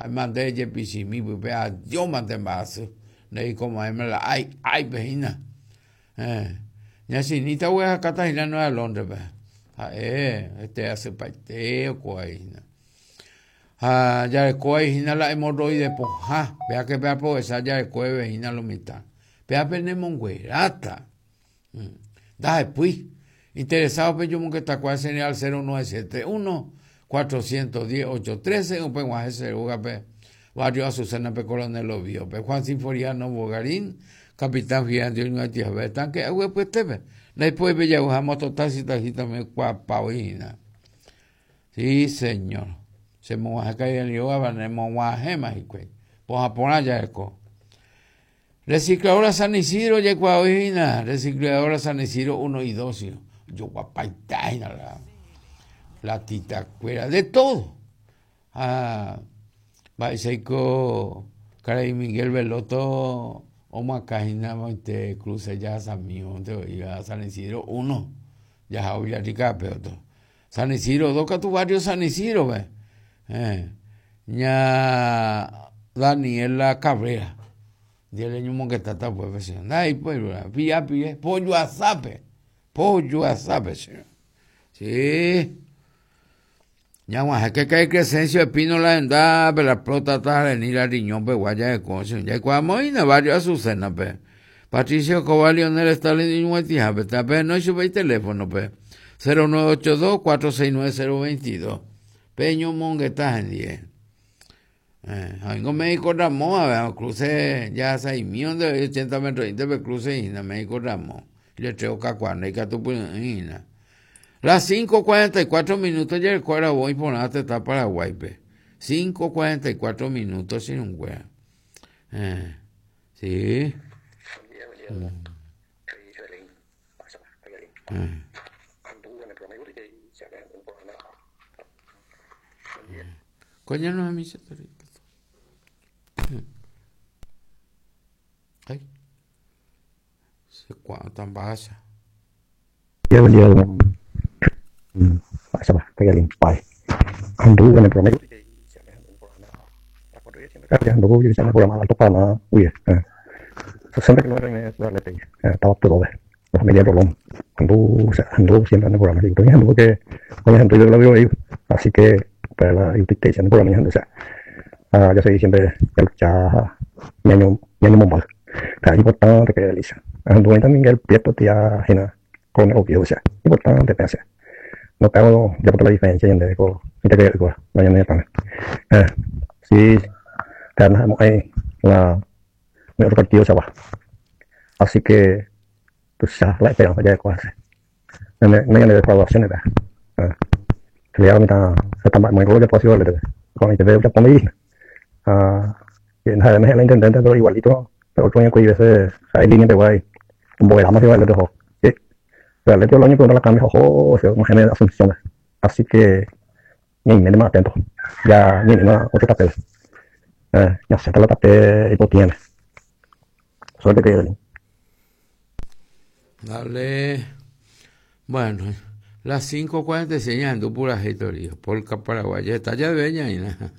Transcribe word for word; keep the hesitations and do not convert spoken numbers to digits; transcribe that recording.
Ha'éma nde jepichimi pype adiómante mba'asy ndeikomo'ãima la ái áipe hína. Eh, ña Chinita oguerahakáta hína Nueva Londres-pe ha'e hete asypaite okuái hína. Ha jarekóva hína la hemorroide pohã péake peaprovecha jarekovéve hína lo mitã péape nemongueráta. Ndahepýi interesado pejomongetakuaa general cero nueve siete uno cuatrocientos diez ocho trece upeg̃uahẽ che rógape barrio Azucena-pe Coronel Oviedo-pe Juan Sinforiano Bogarín Capitán Fidel oñoatihape tanque aguapyetépe ndaipói pejaguha mototaxi taxi kuaapávoi hína. Sí, señor. Chemog̃uahẽ karai rógapa nemog̃uahẽma hikuái pohã porã jareko. Recicladora San Isidro jaikuaavoi hína Recicladora San Isidro uno y dos joguapaita hína la latitakuéra de todo. Ha mba'éichaiko karai Miguel Veloto omoakã moite cruce jahasami oĩva San Isidro uno jaha Villarrica-pe otro. San Isidro dos katu barrio San Isidro-pe. Eh, ña Daniela Cabrera ndiere ñomongetáta upépe che ndaipói pira pire pojoasápe pojoasápe che. Sí. Ñag̃uahẽke karai Crescencio Espínola hendápe la próstata renila riñón-pegua jareko che jaikuaamoína barrio Azucena-pe. Patricio Escobar Lionel Stalin iñug̃uaitĩhápe tape chupe iteléfono-pe cero nueve ocho dos cuatro seis nueve cero veintidós peñomongeta hendie. Eh, ha oingo médico Ramón ave cruce jahasaimi onde ochenta metro pe cruce hína médico Ramón letrero kakuaa ndaikatupy'ỹi hína. Las cinco cuarenta y cuatro minutos jareko aravo iporã tetã Paraguáipe. cinco cuarenta y cuatro minutos chirũnguéra. Eh, sí. Mm. Eh. Coño, no es mi Ay. Se cuánto basa. La familia Rolón. O sea, anduvo siempre en el programa. Anduvo que, así que para la el programa, o sea, ah, yo soy siempre ya ñaño ñaño mombal. Es importante que realiza. Anduvo también el Prieto tía Jena con el o sea, importante pensar. No tengo ya por la diferencia entre con entre que con mañana ya Eh, sí, tenemos ahí la otro partido se va. Así que pues ya la esperanza ya de cosas. Me me me de evaluaciones, ¿verdad? Le mitad está muy ya posible con el te ya pone ah nada me la intendente pero igualito pero otro año que veces hay línea de guay un más igual de sí pero el otro año que uno la cambia ojo se como genera Asunción así que ni me más atento ya ni no otro papel eh ya se la papel y lo tiene suerte que Dale. Bueno, las cinco cuarenta y seis ando pura historia. Polka paraguaya está ya beña y nada.